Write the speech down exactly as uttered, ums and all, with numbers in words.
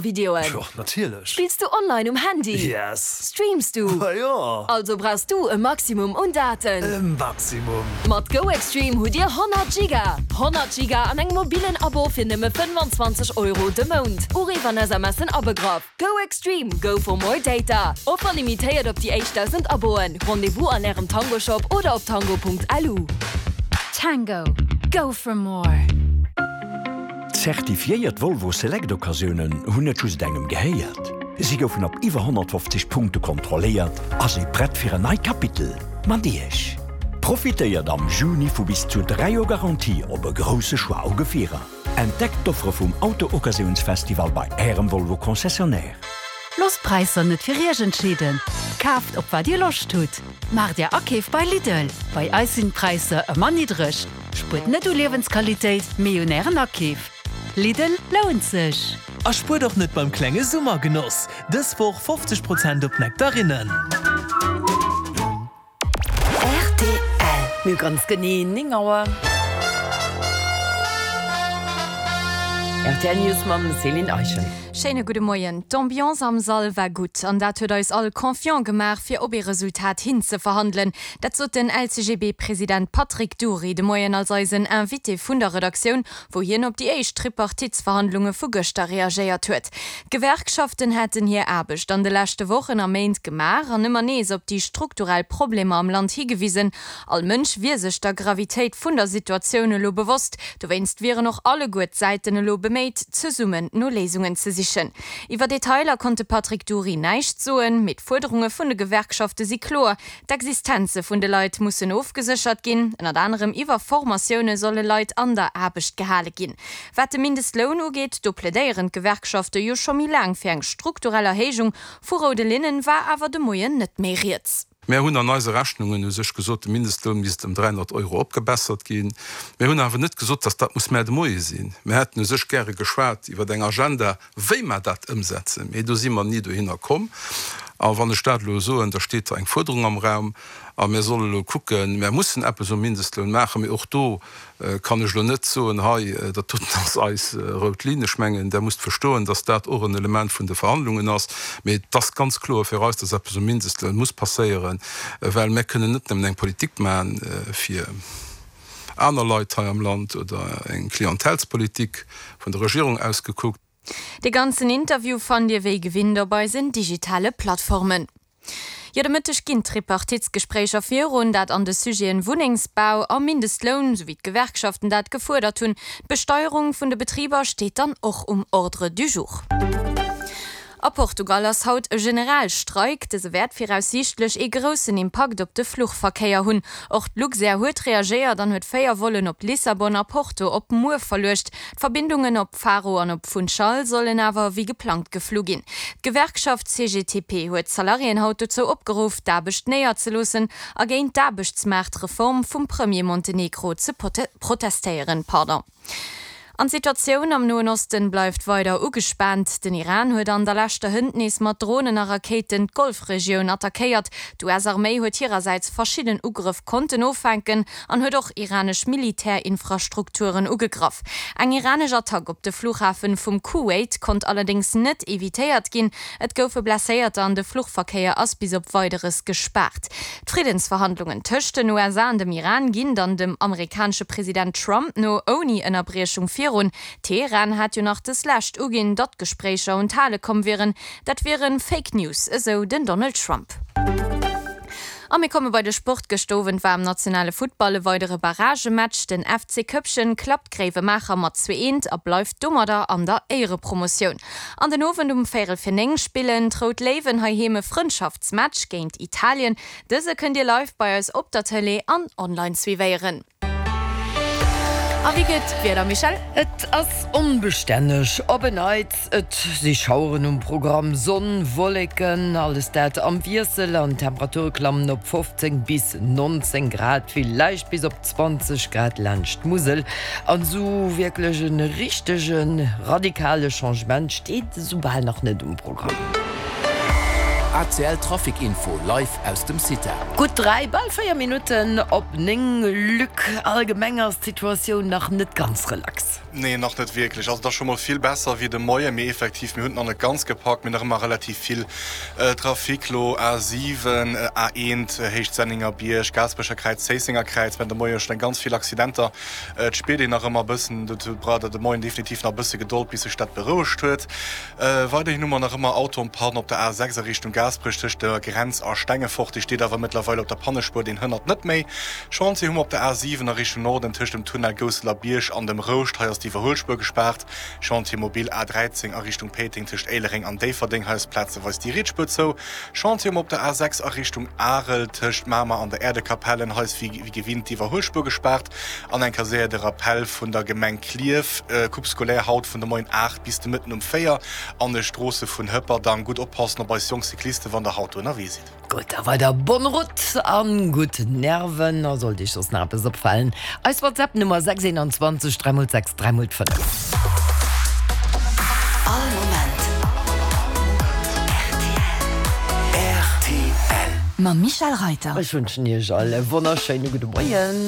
Videoen? Jo, natierlech. Spills du online um Handy? Yes. Streams du? Ma jo. Also brauchs du e Maximum un Daten. E Maximum. Mat GoExtreme hutt dir honnert Giga! honnert Giga an engem mobilen Abo fir nëmme fënnwanzwanzeg Euro de Mount. Uriff an SMSen abegraff. GoExtreme, go for more data! Offer limitéiert op déi éischt dausend Aboen. Rendez-vous an ärem Tango Shop oder op tango Punkt L U. Tango, go for more! Zertifiéiert Volvo Select Occasiounen hunn net just engem gehéiert. Si goufen op iwwer honnertfofzeg Punkte kontrolléiert a si prett fir en neit Kapitel mat Iech. Profitéiert am Juni vu bis zu dräi Joer Garantie op e grousse Choix u Gefierer. Entdeckt d'Offere vum Auto-Occasiounsfestival bei Ärem Volvo Concessionnaire. Loosst d'Präisser net fir Iech entscheeden. Kaaft op wat Dir Loscht hutt. Maacht Är Akeef bei Lidl. Bei eis sinn d'Präisser ëmmer niddreg. Spuert net u Liewensqualitéit, mee un Ären Akeef. Lidl lount sech! A spuert och net beim klenge Summergenoss! Dës Woch fofzeg Prozent op Nektarinnen! Rtl. Mir hu ganz genee néng Auer. Rtl News mam Céline Eischen. Schéine gudde Moien. D'Ambiance am Sall war gutt an dat huet eis all confiant gemaach, fir op ee Resultat hinzeverhandelen. Dat sot den L C G B-President Patrick Dury de Moien als eisen Invité vun der Redaktioun, wou hien op déi éischt Tripartitsverhandlunge vu gëschter reagéiert huet. D'Gewerkschaften hätten hir Aarbecht an de leschte Wochen a Méint gemaach an ëmmer nees op déi strukturell Problemer am Land higewisen. All Mënsch wier sech der Gravitéit vun der Situatioun elo bewosst. Dowéinst wieren och alleguer d'Säiten elo beméit, zesummen no Léisungen ze sichen. Iwwer Detailer konnt de Patrick Dury näischt soen, mee d'Fuerderunge vun de Gewerkschafte si kloer, D'Existenze vun de Leit mussen ofgeséchert ginn. Ënnert anerem iwwer Formatioune solle Leit an der Aarbecht gehale ginn. Wat de Mindestloun ugeet, do plädéieren d'Gewerkschafte jo scho méi laang fir eng strukturell Erhéijung. Vu roude Linnen war awer de Moien net méi rieds. Mär hunn an eise Rechnungen u sech gesot, de Mindestloun misst ëm dräihonnert Euro opgebessert ginn. Mär hunn awer net gesot, datt dat muss mar de Moie sinn. Mär hätten u sech gäre geschwat iwwer eng Agenda, wéi mer dat ëmsetzen, mee do si mer ni dohinner komm. A wann ech dat elo soen, da steet da eng Fuerderung am Raum a mir solle elo kucken, mär mussen eppes um Mindestloun maachen, mee och do kann ech elo net soen, hei, dat doten ass eis rout Linn. Ech mengen, Der musst verstoen, datt dat och en Element vun de Verhandlungen ass. Mee et ass ganz kloer fir eis, datt eppes um Mindestloun muss passéieren, well mär kënnen net nëmmen eng Politik maachen fir aner Leit hei am Land oder eng Klientelspolitik vun der Regierung aus gekuckt. De ganzen Interview fannt Dir wéi gewinnt op eisen digitale Plattformen. Jo, de Mëtteg ginn d'Tripartitsgespréicher virun, dat an de Sujeten Wunnengsbau a Mindestloun, sou wéi d'Gewerkschaften dat gefuerdert hunn. D'Besteierung vun de Betriber steet dann och um Ordre du jour. A Portugal ass haut e Generalstreik. Dëse wäert viraussiichtlech ee groussen Impakt op de Fluchverkéier hunn. Och d'Luxair huet reagéiert an huet véier Vollen op Lissabon a Porto op muer verluecht. D'Verbindungen op Faro an op Funchal sollen awer wéi geplangt geflu ginn. D'Gewerkschaft C G T P huet d'Salariéen haut dozou opgeruff, d'Aarbecht néierzeloossen a géint d'Aarbechtsmaartreform vum Premier Montenegro ze protestéieren. Pardon. An d'Situatioun am Noen Osten bleift weider ugespaant. Den Iran huet an der leschter hënt nees mat Dronen a Rakéiten d'Golfregioun attackéiert. D'U S-Arméi huet hirersäits verschidden Ugrëff konnten offänken an huet och iranesch Militärinfrastrukturen ugegraff. Eng iranesch Attack op de Flughafen vum Kuwait konnt allerdéngs net evitéiert ginn. Et goufe Blesséierter an de Fluchverkéier ass bis op Weideres gespaart. D'Friddensverhandlungen tëscht den U S A an dem Iran ginn dann dem amerikanesche President Trump no ouni Ënnerbriechung virun. Teheran hat jo nach dës lescht uginn, datt Gespréicher un d'Hale komm wieren. Dat wiere Fake News, esou den Donald Trump. A mir komme bei de Sport. Gëschter Owend war am nationale Futtball e weidere Barragematch. Den F C Koeppchen klappt Gréiwemaacher mat zwee eent a bleift domadder an der Éierepromotioun. An den Owend um véierel fir néng spillen d'Rout Léiwen heiheem e Frëndschaftsmatch géint Italien. Dëse kënnt Dir live bei eis op der Tëlee an online suivéieren. A wéi gëtt d'Wieder, Michèle? Et ass onbestänneg op en Neits. Et si Schaueren um Programm, Sonn, Wolleken, alles dat am Wiessel an d'Temperature klammen op fofzéng bis nonzéng Grad, villäicht bis op zwanzeg Grad laanscht d'Musel. An esou wierklech e richtege radikale Changement steet esou bal nach net um Programm. ACL Trafic Info live aus dem CITA. Gutt dräi, bal véier Minutten op néng. Luc, allgemeng ass d'Situatioun nach net ganz relax. Nee, nach net wierklech. Also et ass scho mol vill besser wéi de Moien, mee effektiv, mir hunn et nach net ganz gepackt. Mir hunn nach ëmmer relativ vill Trafic lo, A siwen, A eent, Héicht Senningerbierg, Gaasperecher Kräiz, Zéissenger Kräiz. Mir haten de Moie schonn eng ganz vill Accidenter. Et spiert een nach ëmmer e bëssen, dozou braucht der de Moien definitiv nach e bësse Gedold, bis sech dat berouegt huet. Weiderhin hu mer nach ëmmer Auto en panne op der A sechs a Richtung Gaasperech tëscht der Grenz a Stengefort. Dee steet awer mëttlerweil op der Pannespuer, deen hënnert net méi. Chantier hu mer op der A siwen a Richtung Norden tëscht dem Tunnel Gousseler Bierg an dem Rouscht. Hei ass d'Iwwerhuelspuer gespaart. Chantier mobile A dräizéng a Richtung Péiteng tëscht Éilereng an Déifferdeng. Hei ass plazeweis déi riets Spuer zou. Chantier hu mer op der A sechs a Richtung Arel tëscht Mamer an der Äerdekapellen. Hei ass wéi gewinnt d'Iwwerhuelspuer gespaart. An eng Kéier séier de Rappell vun der Gemeng Klierf, Coupe scolaire haut vun de Moien aacht bis de Mëtten um véier an de Stroosse vun Hëpperdang. Gutt oppassen op eis jonk Cyclisten, wann der haut do ënnerwee sidd. Gutt, da weider bonne route an gutt Nerven. A sollt iech soss nach eppes opfalen, eis WhatsApp Nummer sechs einundzwanzeg dräi mol sechs dräi mol fënnef. All Moment rtl. Mam Michèle Reiter. Ech wënschen iech all e wonnerschéine gudde Moien.